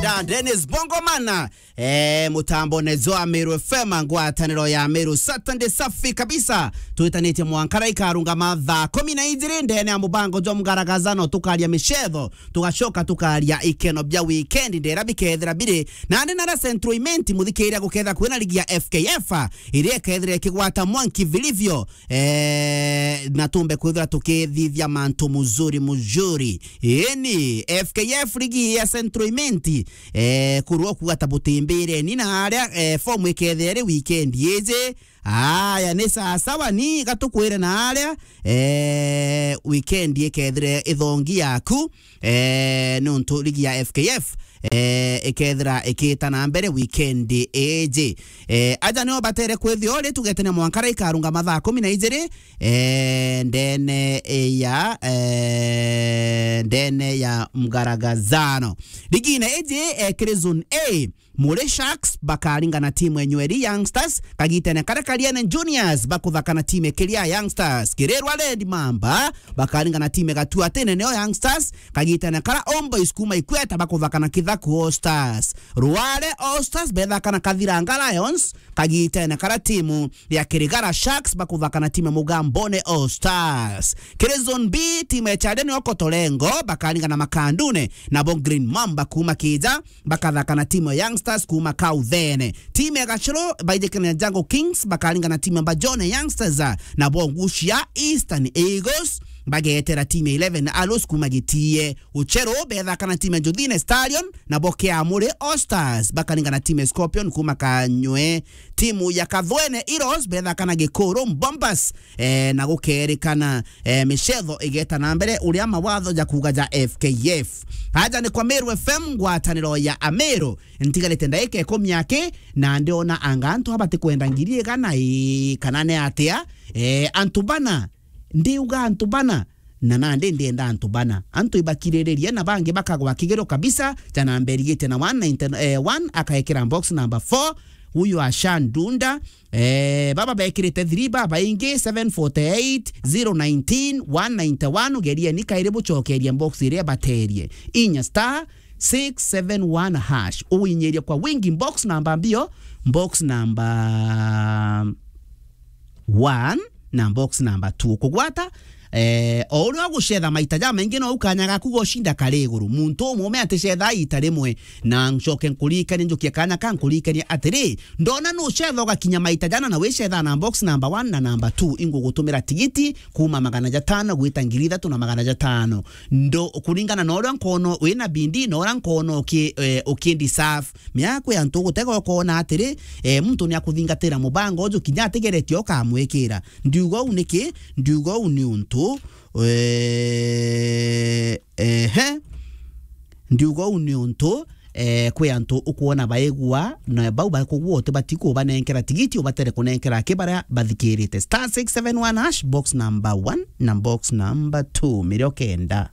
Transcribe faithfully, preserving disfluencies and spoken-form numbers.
Da Dennis Bongomana. Eh, mutambo nezo a Meru F M, ngwataniro ya Meru, Saturday safi kabisa. Twitanitie mwankara ikarungama thaa kumi na ijiri ndene ya mubango jwa mgaragazano, tukaria micetho, tugacoka tukaria ikeno bia weekend ndera bikethira biri. Nandi nara Central Imenti, muthikiria, guketha kwina ligi ya F K F, iria ikethira ikigwata mwanki vilivyo, eh, na tumbe kwithira tukithithia mantu muzuri muzuri. Eni, F K F ligi ya Central Imenti, eh, kurwo kuga ta butimbireni na aria, eh, fomu ikethira iri weekend iji. Aya, ni sawa sawa, ni gatukwire na aria, eh, weekend ikethire ithongi yaku, eh, nontu ligi ya F K F, eh, ikethira ikita na mbere weekend iji. Eh, aja nio batere kwithio ri, tugetene mwankara ikarunga mathaa kumi na ijiri, eh, ndene ya, eh, ndene ya mgaragazano. Ligine iji, eh, kiri zone A, Mure Sharks bakaringana timu ya Nyweri Youngsters, kagitene karia Kariene Juniors bakuthaka na timu ya Kiria Youngsters. Kirirwa Red Mamba bakaringana timu ya Gatuatene neo Youngsters, kagitene kara Homeboys kuma Ikweta bakuthaka na Kithaku All Stars. Rware All Stars bethaka na Kathiranga Lions, kagitene kara timu ya Kirigara Sharks bakuthaka na timu ya Mugambone All Stars. Kiri zone B, timu ya Chade nio Kotolengo bakaringana Makandune, nabo Green Mamba kuma Kija bakathaka na timu ya Youngsters kuma Kauthene. Timu ya Gachuru baijikene na Jungle Kings bakaringa na timu ya Mbajone Youngsters, nabo Ngucia Eastern Eagles bagetera timu ya eleven Arrows kuma Gitie. Ucheru bethaka na timu ya Njuthine Stallion, nabo Kiamuri All Stars bakaringa na timu ya Scorpion kuma Kanywe. Timu ya Kathwene Heroes bethaka na Gikuru Bombers, eh, na gukerikana, eh, micetho igeta na mbere uria mawatho ja kuuga ja F K F. Aja ni kwa Meru F M, ngwataniro ya Ameru. Ntigarite ndaika ikumi aki, na ndiona anga antu aba batikwenda ngiri igana ii, kana ni atia? Eh, antu bana, ndiuga antu bana, na nandi ndienda antu bana. Antu ibakiriririe na bangi bakagwa kigiro kabisa, jana mberigite na one ninety, eh, one akaekera box number four, huyu Ashan Dunda, Eh, baba bekirite three babaingi, seven forty-eight, zero nineteen, one ninety-one, ugerieni kairi bucokerie box iria baterie. Inya star six seven one hash. Uinyirie kwa wingi box namba mbio, box namba one na box namba two. Kugwata, eh, o uria ugucetha maita jamaingi no ukanya gaku gocinda kari iguru. Muntu umume aticetha ita rimwe. Na ncoke nkuririkanie, njukie kanya ka nkuririkanie atiri, ndona nucetha ugakinya maita jana na wicetha na box number one na number two, ingugutumira tigiti kuma magana jatano gwita ngiri ithatu na magana jatano. Ndo kuringana na uria nkono wina bindi na uria nkono uki, eh, uki deserve. Mea kwi antu ugutega ukona atiri, eh, muntu ni akuthingatira mubango uju kinya atigeretie ukamwikira. Ndiuga uu niki? Ndiuga uu ni untu, eh, ehe. Ndiuga uu ni untu, eh, kwi antu ukwona baigua, na bau bakugua utibati kubanenkera tigiti, ubatere kunenkera aki baria bathikirite. Star six seven one hash, box number one na box number two, mirio kenda.